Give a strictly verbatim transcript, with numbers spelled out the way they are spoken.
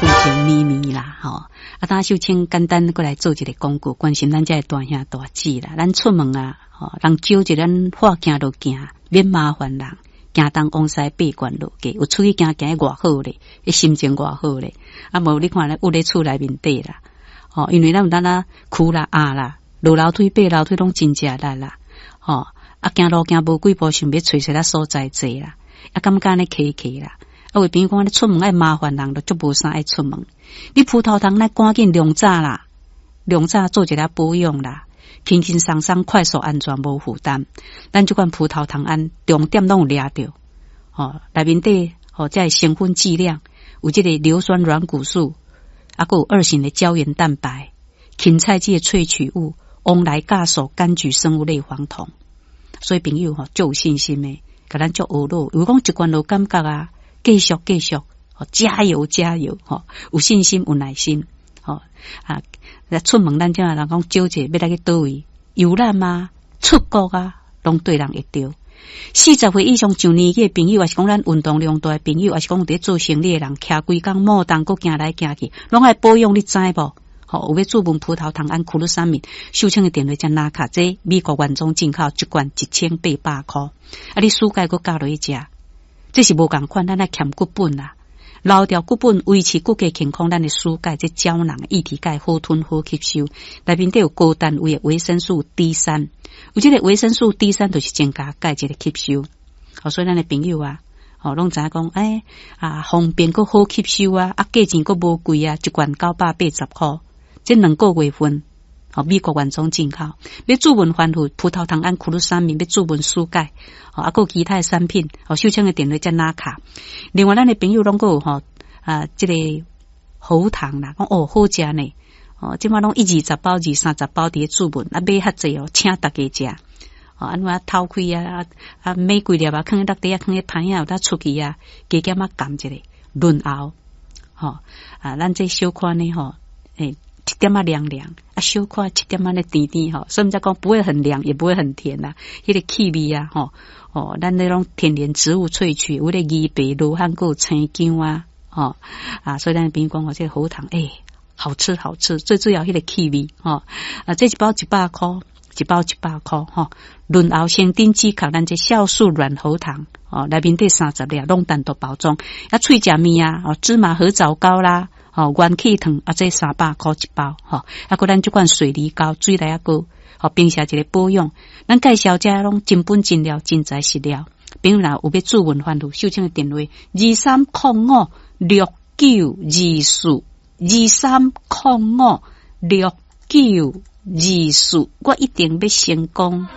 舊情綿綿啦，吼。啊，當秀清簡單閣來做一个廣告，關心咱遮的大兄大姊啦。咱出門啊，吼，人招一咱話行就行，免麻煩人。行東往西八關落街，有出去行行得偌好咧，彼心情偌好咧。啊，無你看咧，踴咧厝內面底啦，吼，因為咱有當啦，跍啦、壓啦，落樓梯、爬樓梯攏真食力啦，吼。啊，行路行無幾步，想欲揣一个所在坐啦，啊，感覺按呢騎騎啦。啊，有朋友講你出門愛麻煩人，就足無啥愛出門。你葡萄糖，咱趕緊量早啦，量早做一下保養啦，輕輕鬆鬆、快速、安全、無負擔。咱這款葡萄糖胺重點攏有掠著，吼，內面底吼，這成分劑量有這个硫酸軟骨素，啊，閣有二型的膠原蛋白、芹菜籽的萃取物、黃來酵素、柑橘生物類黃酮。所以朋友吼，足有信心的，共咱足學樂，有講一罐就感覺啊，繼續繼續，加油加油，吼，有信心有耐心，吼啊！出門咱這人講招者欲來去佗位遊覽啊，出國啊，攏對人會著。四十歲以上上年紀的朋友，抑是講咱運動量大的朋友，抑是講佇咧做生理的人，徛規工摩動閣行來行去，攏愛保養，你知無？吼，有欲注文葡萄糖胺苦魯三敏，秀清的電話才拿卡，這美國原裝進口一罐一千八百箍，啊，你暑假閣加落去食，這是無仝款，咱愛欠骨本啦，留掉骨本，維持骨骼健康，咱的暑假這膠囊液體鈣好吞好吸收，內面底有高單位的維生素 D 三，有這个維生素 D 三就是增加鈣質的吸收，好，所以咱的朋友啊，吼，攏知影講，欸，啊，方便閣好吸收啊，啊，價錢閣無貴啊，一罐九百八十箍。這兩個月份，吼，美國原裝進口，欲注文翻覆葡萄糖胺苦魯三敏，欲注文輸鈣，吼，啊，閣有其他的產品，吼，秀清的電話才拿卡。另外，咱的朋友攏閣有吼，啊，這个喉糖啦，講哦好食呢，哦，這擺攏一二十包、二三十包佇咧注文，啊，買較濟哦，請大家食。哦，按怎偷開啊，啊，買幾粒啊，囥佇落底啊，囥佇盤仔，有當出去啊，加減仔含一下潤喉，吼，啊，咱這小可呢，吼，欸，一點仔涼涼，啊，小可一點仔咧甜甜吼，所以才講不會很涼，也不會很甜啦。彼个氣味啊，吼，哦，咱那種天然植物萃取，有咧枇杷、羅漢果、生薑啊，吼，啊，所以咱朋友講哦，這个喉糖，欸，好吃好吃，最主要彼个氣味，吼，啊，這一包一百箍，一包一百箍，吼，潤喉生長止咳，咱這酵素軟喉糖，哦，內面底三十粒，攏單獨包裝，啊，喙食麵啊，哦，芝麻核棗糕啦。吼，元氣糖啊，這三百箍一包，吼，啊，閣咱這款水梨膏、水梨仔膏，吼，平時一个保養。咱介紹這攏真本真料、真材實料。朋友若有欲注文番路，秀清的電話二三空五六九二四二三空五六九二四，我一定欲成功。